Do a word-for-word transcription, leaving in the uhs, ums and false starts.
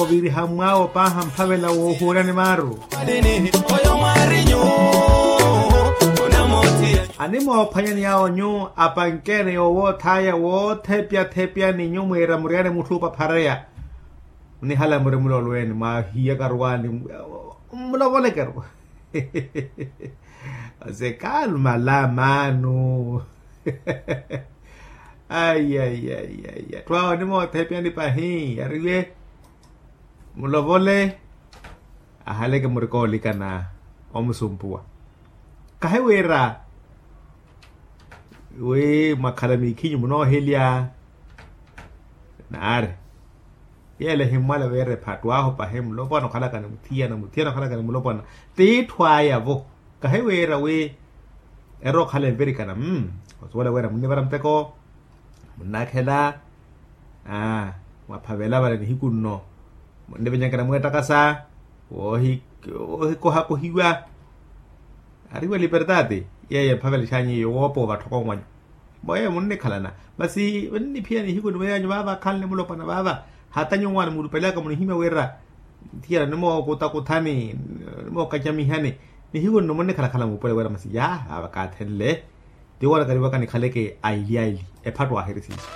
Oviriha mwaawo paaha mphavela woohuuryani maaru. Animoophwanyani yaawo nyu apankeene yoowoothaaya woothepyathepyani nyu mwiira muryaane mutthu opaphareya. Munihala muri mulolweeni mwaahiyakaru waani. Mmulovolekeru. Ose kalmala maanu. Ai ai ai ai atthu awo onimoothepyani pahi yariwe. Mulovole ahaleke murika olikana omusumpuwa. Kahi wira wi mwakhala miikhinyu munoohelya. Naari yeela ehimmwala wira ephattu ahu pahi mulopwana okhalaka ni muthiyana muthiyana okhalaka ni mulopwana. Tiitthu aya-vo kahi wira wi erokhala envirikana. Osuwela wira munnivara muteko munnaakhela. Mwaphavela vale nihiku nno munnivenyankana mweettakasa woohikohakohiwa. Ariwa liberdade yeeyo emphavelexanyu iyo woopa ovatthoka omwanyu. Mbo yeeyo munnikhalana masi munniphiyana nihiku nno mweeyo anyu vaava akhanle mulopwana vaava. Hata nyuwo mwaana muulupelaka munihimya wira nthiyana onimookutakuthani onimookacamihani nihiku nno munnikhalakhala muupule wira masi yaa vaava kaathenle. Tiwo anakariwaka nikhaleke aili aili ephattu aahiri siiso.